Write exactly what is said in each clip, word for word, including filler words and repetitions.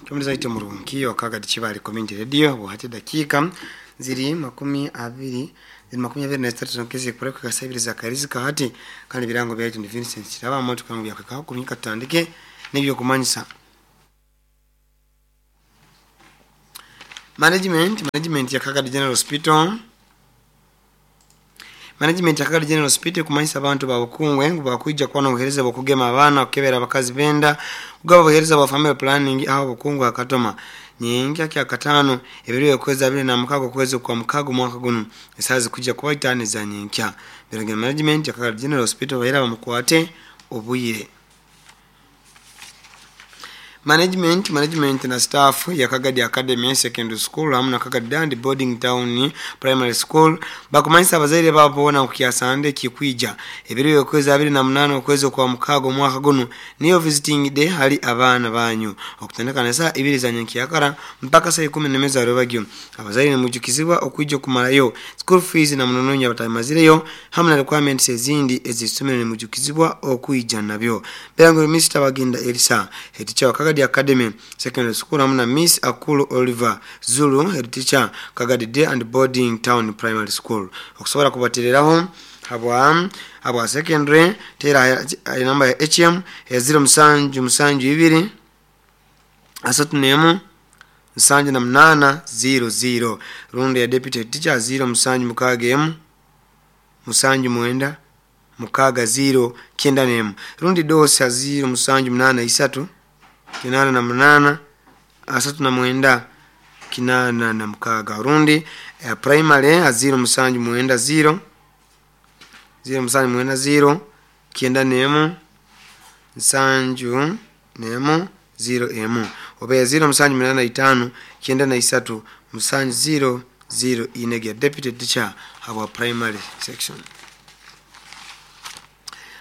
Kyomulizaite murungi Wakagadi Kibale Community Radio buhati dakika ziri makumi abiri ziri makumi abiri na zitatu zonkezi kureka kasabiri za karizika hati kandi birango byaitu ni Vincent Kiraba moto kangu byakweka kumika tutandike n'ebyo kumanyisa management management ya Kagadi General Hospital management ya Kagadi General Hospital kumanyisa abantu babukungwe ngu bakwija kuba n'obuheereza bw'okugema abaana okukebera abakazi benda kugaba obuheereza bwa family planning aho obukungwe akatoma nyenkya kya katano ebiro okwezi abiri na mukaga okwezi kwa mukaga omwaka guno esaaha zikujja kuba itaano eza nyenkya Biragiro management ya Kagadi General Hospital bahera bamukwate obwire management management na staff ya Kagadi Academy Secondary School hamu na Kagadi Dandi Boarding Town Primary School bakumanyisa abazaire babo boona kukyasande kikwija ebiro okwezi abiri na munaana okwezi kwa mukaga omwaka guno niyo visiting day hali abaana banyu okutandika na saa ibiri za nyenkyakara mpaka saa ikumi n'emwe za rwebagyo abazaire nimujukizibwa okwija okumarayo school fees na munononya batamazireyo hamu na requirements ezindi ez'isomero nimujukizibwa okwija nabyo Berangiro Mister Bagenda Elisa head teacher wa Kagadi Academy Secondary School hamu na Miss Akulu Oliver Zulu head teacher Kagadi Day and Boarding Town Primary School okusobola kubatereraho habwa habwa secondary tera namba ya H M ya zero musanju musanju ibiri asatu nemu musanju na munana zero zero rundi ya deputy teacher zero musanju mukaga emu musanju mwenda mukaga zero kenda nemu rundi dosa zero musanju munana isatu kinana na munana asatu na mwenda kinana na mukaga rundi eh, primary a zero musanju mwenda zero zero musanju mwenda zero kenda nemu nsanju nemu zero emu oba zero musanju munana itano kenda na isatu musanju zero zero inege deputy teacher habwa primary section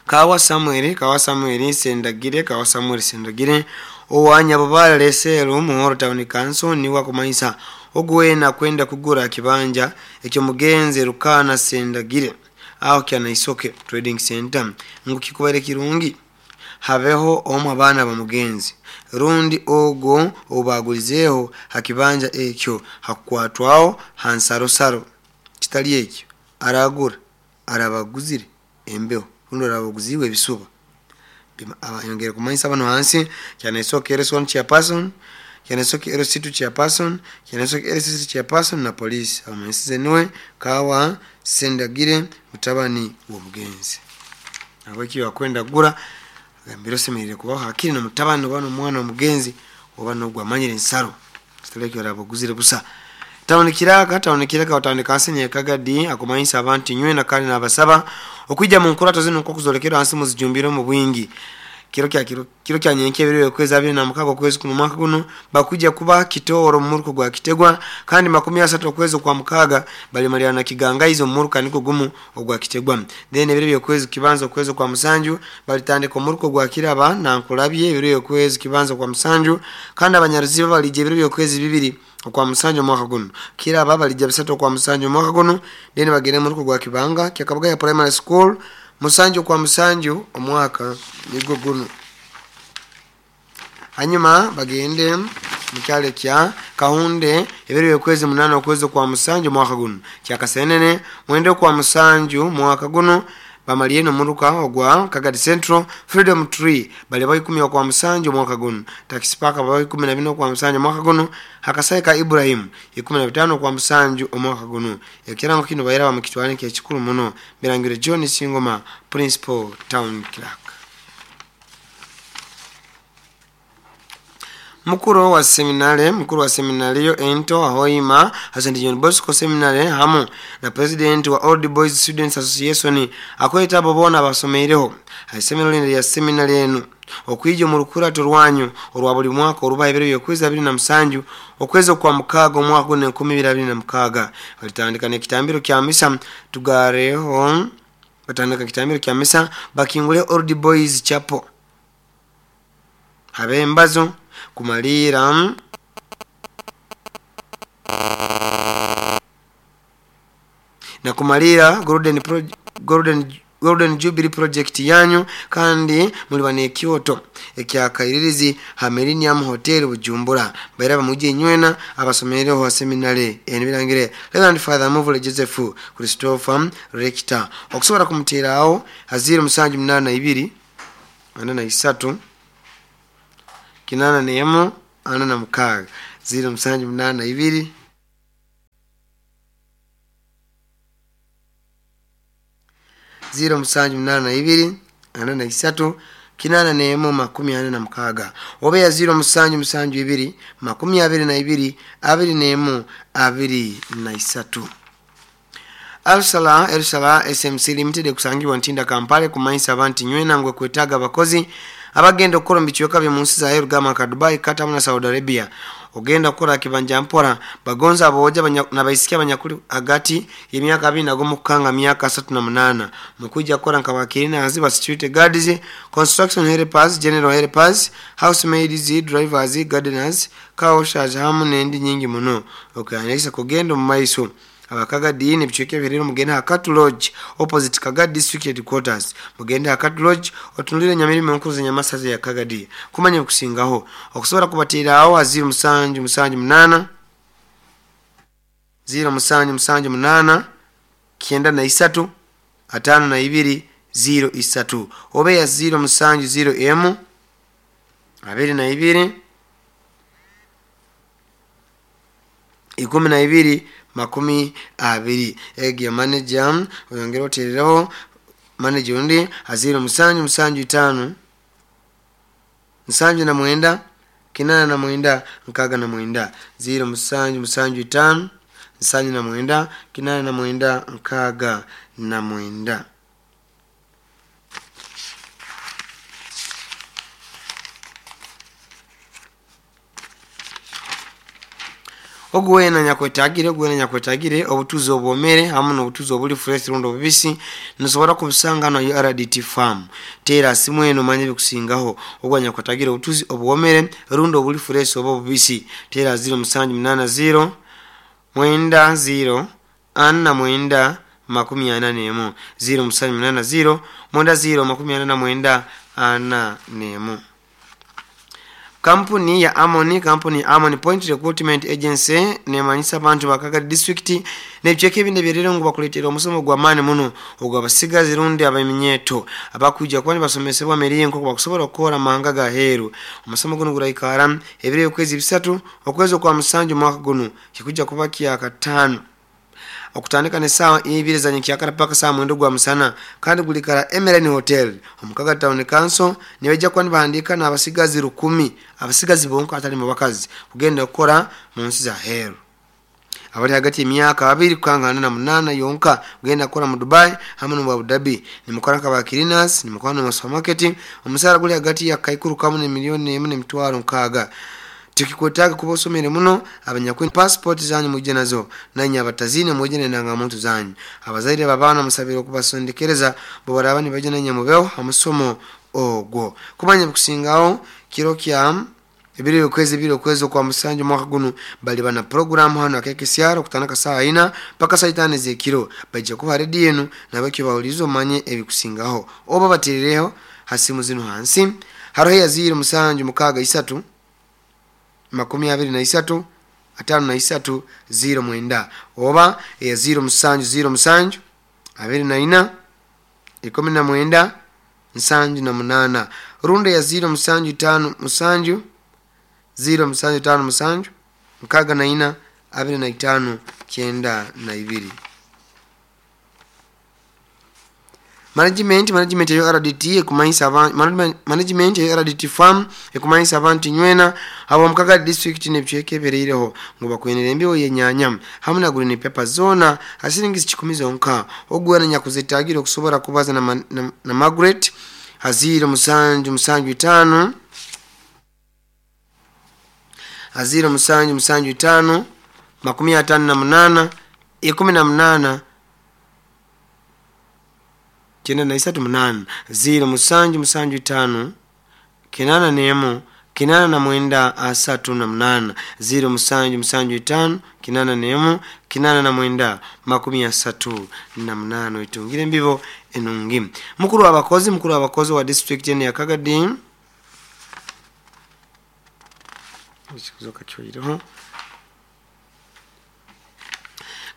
Kawa Samuel Kawa Samuel Sendagire Kawa Samuel Sendagire owanya babala lesero Muhoro Town Council niwa kumanyisa ogwena kwenda kugura kibanja ekyo mugenze Rukana Sendagire aho kyana Isoke Trading Center ngu kikubere kirungi habeho omu abaana bamugenzi rundi ogo obagulizeho hakibanja ekyo hakukwatwaho hansarosaro kitali ekyo aragura arabaguzire embeho rundi arabaguziwe ebisuba abayongere kumanyisa bano hansi kyana Isoke R S one chairperson kyana Isoke R S two chairperson kyana Isoke R S three chairperson na police abamanyisize niwe Kawa Sendagire mutabani w'omugenzi abaki wakwenda gura agambira osemerere kubaho hakiri na mutabani oba n'omwana omugenzi oba n'ogwamanyire ensaro kitalekyo arabaguzire busa Town Kiraka Town Kiraka watandika hansi Kagadi akumanyisa abantu nywena kandi nabasaba okwijja mu nkurato zino nk'okuzolekera hansi muzijumbire mu bwingi kiro kya kiro kiro kya nyenke ebiro okwezi abiri na mukaga okwezi kuno mwaka guno bakujja kuba Kitoro mu muruko gwa Kitegwa kandi makumi asatu okwezi kwa mukaga bali na Kigangaizo mu muruka niko gumu ogwa Kitegwa then ebiro byokwezi kibanza okwezi kwa musanju balitandika omuruko gwa Kiraba na Nkulabye ebiro okwezi kibanza kwa musanju kandi abanyaruziba balije ebiro byokwezi bibiri okwa musanju mwaka guno Kiraba balija bisatu kwa musanju mwaka guno then bagere mu ruko gwa Kibanga kyakabaga ya primary school musanju kwa musanju omwaka nigo guno hanyuma bagende mukyalo kya Kahunde ebiro byokwezi munana okwezi kwa musanju mwaka guno kyakasenene mwende kwa musanju mwaka guno bamaliye nomuruka ogwa Kagadi Central Freedom Tree bali bayi kumi kwa musanju mwaka guno Taxi Park bayi kumi na bino kwa musanju mwaka guno Hakasaika ka Ibrahim ikumi na bitano kwa musanju omwaka guno ekirango kino bayira bamukitwale kya kikulu muno Birangire John Singoma Principal Town Clerk Mukuru wa seminare mukuru wa seminario ento ahoima Saint John Bosco Seminary hamu na president wa Old Boys Students Association akweta bobona basomeireho seminary ya seminary enu okwija mu rukurato rwanyu orwa buli mwaka oruba ebiro byokwezi abiri na musanju okwezi kwa mukaga omwaka guno enkumi ibiri abiri na mukaga balitandika n'ekitambiro kya misa tugareho batandika kitambiro kya misa bakingule Old Boys Chapel habembazo kumalira na kumalira Golden Pro, Golden Golden Jubilee Project yanyu kandi muliba n'ekyoto ekyakairirizi ha Millennium Hotel Bujumbura. Baira bamuje nywena abasomereho ha seminary enibirangire Reverend Father Muvule Joseph Christopher Rector. Okusobola kumuteraho aziro musanju munana ibiri ana na isatu kinana nemu ana na mukaga ziro musanju munana ibiri ziro musanju munana ibiri ana na isatu kinana nemu makumi ana na mukaga obe ya ziro musanju musanju ibiri makumi abiri na ibiri abiri nemu abiri na isatu. Alsala Elsala S M C Limited kusangibwa Ntinda Kampala kumanyisa abantu nywena ngwe kwetaga abakozi abagenda okukola mu bichweka bya munsi za Yerugama ka Dubai Qatar na Saudi Arabia. Ogenda kukola kibanja mpora bagonza aboja nabaisikia abanyakuli agati y'emyaka abiri na gumu kukanga myaka asatu na munana mukuja kukola nka bakirina aziba security guards, construction helpers, general helpers, housemaids, drivers, gardeners, car washers hamu n'endi nyingi muno. Okyanisa kugenda mu maiso abakagadi nebichweke birero mugende Hakatu Lodge opposite Kagadi District Headquarters. Mugende Hakatu Lodge otunulire nyamirimo nkuzi nyamasaze ya Kagadi kumanya kusingaho. Okusobola kubatirawo aziro musanju musanju munana ziro musanju musanju munana kienda na isatu atano na ibiri ziro isatu obe ya ziro musanju ziro emu abiri na ibiri ikumi na ibiri makumi abiri. Egi ya manager oyongera oterereho manager undi aziro musanju musanju itano nsanju na mwenda kinana na mwenda nkaga na mwenda ziro musanju musanju itano nsanju na mwenda kinana na mwenda nkaga na mwenda. Ogwena nyakwetagire ogwena nyakwetagire obutuzi obwomere hamu n'obutuzi obuli fresh rundo bubisi nsobola kubusanga no U R D T farm. Tera simu eno manye bikusingaho. Ogwa nyakwetagire obutuzi obwomere rundo obuli fresh oba bubisi. Tera zero musanju munana zero mwenda zero ana mwenda makumi ana nemu zero musanju munana zero mwenda zero makumi ana na mwenda ana nemu. Kampuni ya Amoni, kampuni ya Amoni Point Recruitment Agency nemanyisa abantu ba Kagadi District nebicheke ebindi byerero ngo bakuletera omusomo gwa maani muno ogwa basigazi rundi abaminyeto abakuja kwani basomesebwa miringo kwa kusobola okukola manga ga heru. Omusomo guno guraikara ebire okwezi bisatu okwezi kwa musanju mwaka guno kikuja kuba kya katano okutandika ne sawa ibiri za nyikyakara paka saa mwendo gwa musana kandi gulikara Emerald Hotel omukaga Town Council nibeja kwani bahandika n'abasigazi rukumi abasigazi bonka atali mu bakazi kugenda okukora mu nsi za heru. Abali hagati y'emyaka abiri kukangana na munana yonka kugenda kukora mu Dubai hamwe no Abu Dhabi nimukora nka ba cleaners nimukora mu supermarket. Omusara guli hagati ya kaikuru kamwe ne milioni emu n'emitwaro nkaga. Tukikwetaga kuba osomere muno abanyakwe passport zanyu mujje nazo nanye abatazine mujje n'endangamuntu zanyu. Abazaire babana musabira okubasondekereza bo baraba nibaje nanye mubeho amusomo ogwo. Kumanya kusingaho kiro kya ebiri okwezi ebiri okwezi kwa musanju mwaka guno bali bana program hano akeke siaro kutanaka saa ina paka saa itano z'ekiro bajja kuba ready yenu nabakyo bawulizo manye ebikusingaho oba baterereho hasimu zino hansi haroho ya ziro musanju mukaga isatu makumi abiri na isatu atano na isatu ziro mwenda oba ya ziro musanju ziro musanju abiri na ina ikumi na mwenda nsanju na munana runda ya ziro musanju tano musanju ziro musanju tano musanju mukaga na ina abiri na itano kyenda na ibiri. Management management ya R D T ekumanyisa abantu management ya R D T farm ekumanyisa abantu nywena abo mukaga district nebicheke bereireho ngo bakwenera embiwo yenyanya hamwe na green paper zona asiringi kikumi zonka ogwana nyakuzetagira okusobola kubaza na, na, na Margaret aziro musanju musanju itano aziro musanju musanju itano makumi atano na munana ikumi na munana kyenda na isatu munana ziro musanju musanju itano kinana nemu kinana na mwenda asatu na munana ziro musanju musanju itano kinana nemu kinana na mwenda makumi asatu na munana oitungire embibo enungi. Mukuru w'abakozi mukuru w'abakozi wa district eno ya Kagadi ekikuzoka kyoireho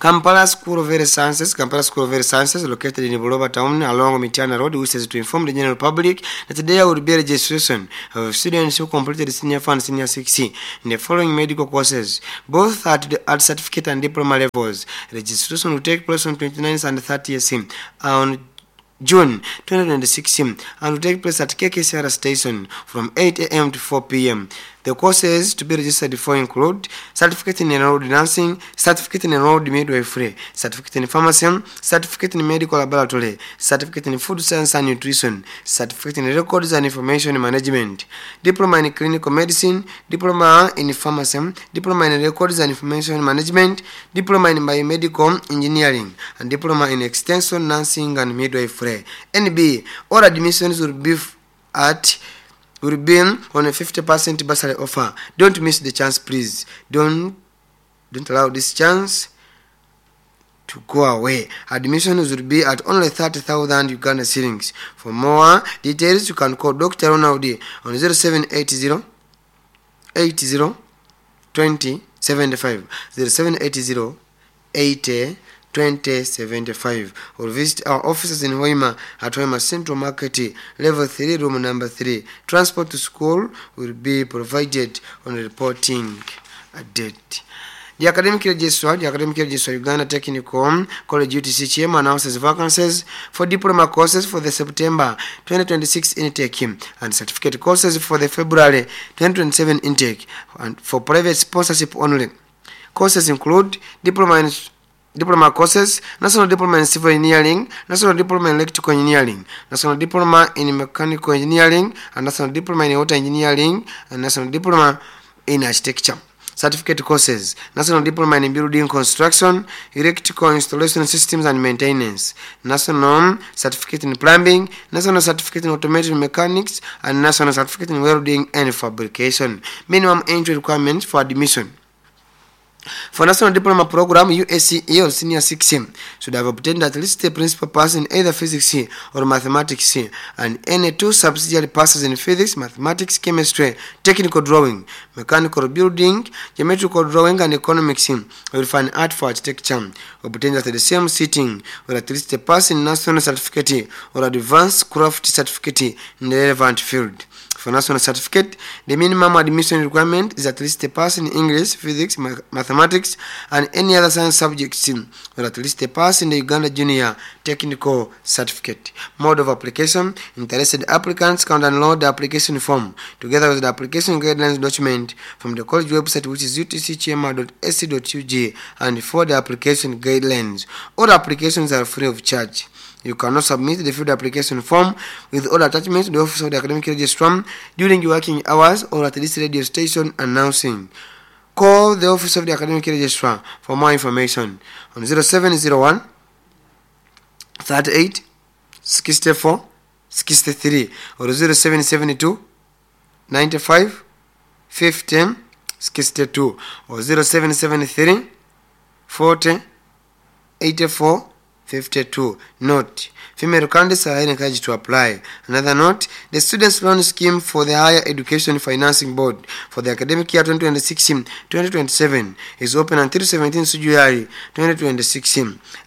Kampala School of Health Sciences, Kampala School of Health Sciences, located in Buloba Town along Mityana Road, wishes to inform the general public that there will be a registration of students who completed senior four and senior six in the following medical courses, both at the at certificate and diploma levels. Registration will take place on twenty-ninth and thirtieth on June twenty twenty-six and will take place at K K C R station from eight A M to four P M. The courses to be registered for include Certificate in Enrolled Nursing, Certificate in Enrolled Midwifery, Certificate in Pharmacy, Certificate in Medical Laboratory, Certificate in Food Science and Nutrition, Certificate in Records and Information Management, Diploma in Clinical Medicine, Diploma in Pharmacy, Diploma in Records and Information Management, Diploma in Biomedical Engineering, and Diploma in Extension Nursing and Midwifery. N B. All admissions will be at will be on a fifty percent bursary offer. Don't miss the chance, please. Don't don't allow this chance to go away. Admissions will be at only thirty thousand Uganda shillings. For more details, you can call Doctor Ronald on zero seven eight zero eight zero twenty seventy-five, zero seven eight zero eighty twenty seventy-five, or visit our offices in Hoima at Hoima Central Market, level three, room number three. Transport to school will be provided on reporting date. The Academic Registrar, the Academic Registrar Uganda Technical College U T C H M announces vacancies for diploma courses for the September twenty twenty-six intake and certificate courses for the February twenty twenty-seven intake, and for private sponsorship only. Courses include diploma in diploma courses, National Diploma in Civil Engineering, National Diploma in Electrical Engineering, National Diploma in Mechanical Engineering, and National Diploma in Water Engineering, and National Diploma in Architecture. Certificate courses, National Diploma in Building Construction, Electrical Installation Systems and Maintenance, National Certificate in Plumbing, National Certificate in Automotive Mechanics, and National Certificate in Welding and Fabrication. Minimum entry requirements for admission. For National Diploma Program, U S C E or Senior six should have obtained at least a principal pass in either Physics or Mathematics and any two subsidiary passes in Physics, Mathematics, Chemistry, Technical Drawing, Mechanical Building, Geometrical Drawing, and Economics, or Fine Art for Architecture, obtained at the same sitting, or at least a pass in National Certificate or Advanced Craft Certificate in the relevant field. For National Certificate, the minimum admission requirement is at least a pass in English, Physics, Mathematics, and any other science subjects, or at least a pass in the Uganda Junior Technical Certificate. Mode of application: interested applicants can download the application form together with the application guidelines document from the college website, which is U T C H M dot A C dot U G, and for the application guidelines. All applications are free of charge. You cannot submit the filled application form with all attachments to the Office of the Academic Registrar during working hours or at this radio station announcing. Call the Office of the Academic Registrar for more information on zero seven zero one thirty-eight sixty-four sixty-three or zero seven seven two ninety-five fifteen sixty-two or zero seven seven three forty eighty-four fifty-two. Note, female candidates are encouraged to apply. Another note, the Students' Loan Scheme for the Higher Education Financing Board for the academic year twenty twenty-six twenty twenty-seven is open until seventeenth July twenty twenty-six.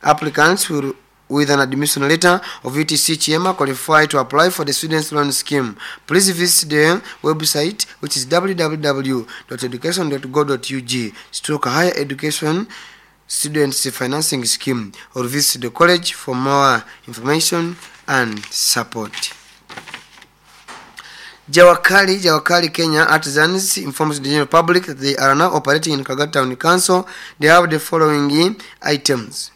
Applicants will with an admission letter of U T C H M qualify to apply for the Students' Loan Scheme. Please visit the website, which is w w w dot education dot gov dot u g stroke higher education Students Financing Scheme, or visit the college for more information and support. Jawakali, Jawakali Kenya Artisans informs the general public that they are now operating in Kagat Town Council. They have the following items.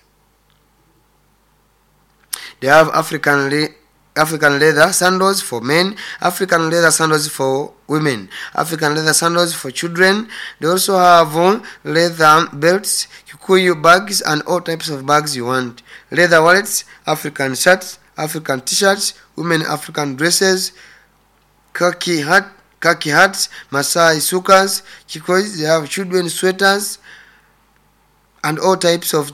They have African le- African leather sandals for men, African leather sandals for women, African leather sandals for children. They also have leather belts, Kikuyu bags, and all types of bags you want. Leather wallets, African shirts, African t-shirts, women African dresses, khaki hat, Khaki hats, Masai sukas, kikois, they have children sweaters and all types of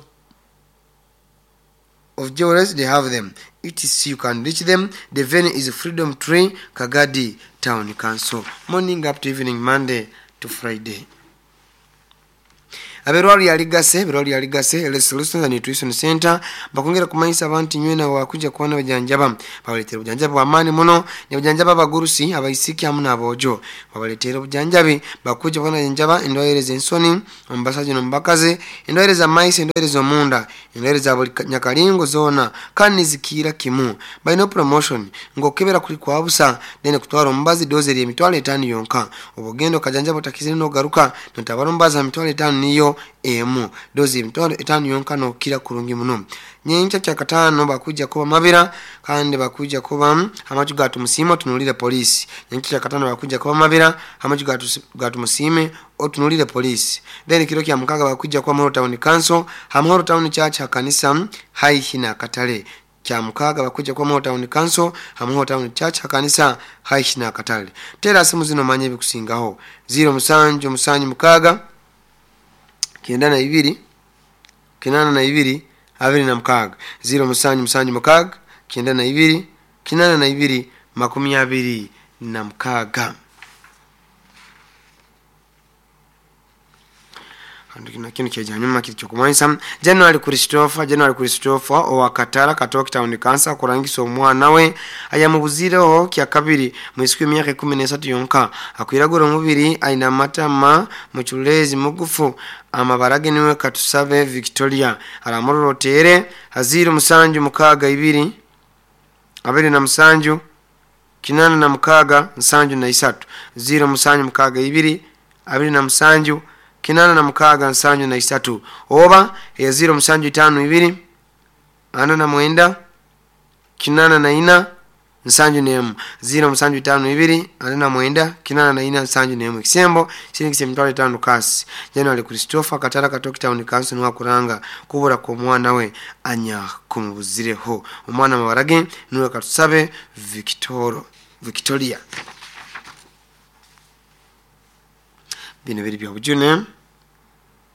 of jewelries, they have them. Etc. You can reach them. The venue is Freedom Tree, Kagadi Town Council. Morning up to evening, Monday to Friday. Aberwali yaligase berwali yaligase Health Solutions and Nutrition Center bakongera kumanyisa abantu nywena wakuja kuona bajanjaba babaletera obujanjabi bw'amaani muno ne bujanjaba abagurusi, abaisiki hamu n'aboojo. Babaletera obujanjabi, bakuja kuona bajanjaba endwaire z'ensoni omu basajja n'omu bakazi, endwaire z'amaiso, endwaire z'omunda, endwaire za buli nyakalingo zoona, kandi nizikiira kimu. Balina promotion ng'okebera kuli kwa busa, then kutwara omubazi dose eri emitwalo etaano yonka. Oba ogenda okajanjaba otakizire n'ogaruka notabara omubazi ha mitwalo etaano niyo emu, dozi emitwalo etaano yonka, nokira kurungi muno. Nyenkya kyakataano bakuja kuba Mabira, kandi bakuja kuba amaju ga Tumusiime otunulire poliisi. Nyenkya kyakataano bakuja kuba Mabira, amaju ga Tumusiime otunulire poliisi. Then kiro kya mukaga bakuja kuba Muhoro Town Council, Hamuhoro Town Church, hakanisa haihi na katale. Kya mukaga bakuja kuba Muhoro Town Council, Hamuhoro Town Church, hakanisa haihi na katale. Tera simu zino manye ebikusingaho: ziro musanju musanju mukaaga kyenda na ibiri kinana na ibiri abiri na mukaaga, ziro musanju musanju mukaaga kyenda na ibiri kinana na ibiri makumi abiri na mukaaga. Kino kyeja nyuma kiri kyokumanyisa January Christopher, January Christopher owa Katara Katoki Town Council kurangisa omwana we ayamubuzireho kyakabiri mwisiku emyaka ikumi nesatu yonka, akwiragura omubiri, aina amatama muculezi mugufu, amabara ge niwe Katusabe Victoria. Aramurorotere haziro musanju mukaaga ibiri abiri na musanju kinana na mukaaga nsanju na isatu, ziro musanju mukaaga ibiri abiri na musanju kinana na mukaaga nsanju na isatu, oba eya ziro musanju itaano ibiri ana na mwenda kinana na ina nsanju nemu, ziro musanju itaano ibiri ana na mwenda kinana na ina nsanju nemu. Ekisembo siringisa emitwalo etaano kasi. January Christopher, Katara Katoki Town Council, niwe akuranga kubura kw'omwana we anya kumubuzireho. Omwana amabara ge niwe Katusabe Victoro Victoria. Bino biri bya bujune.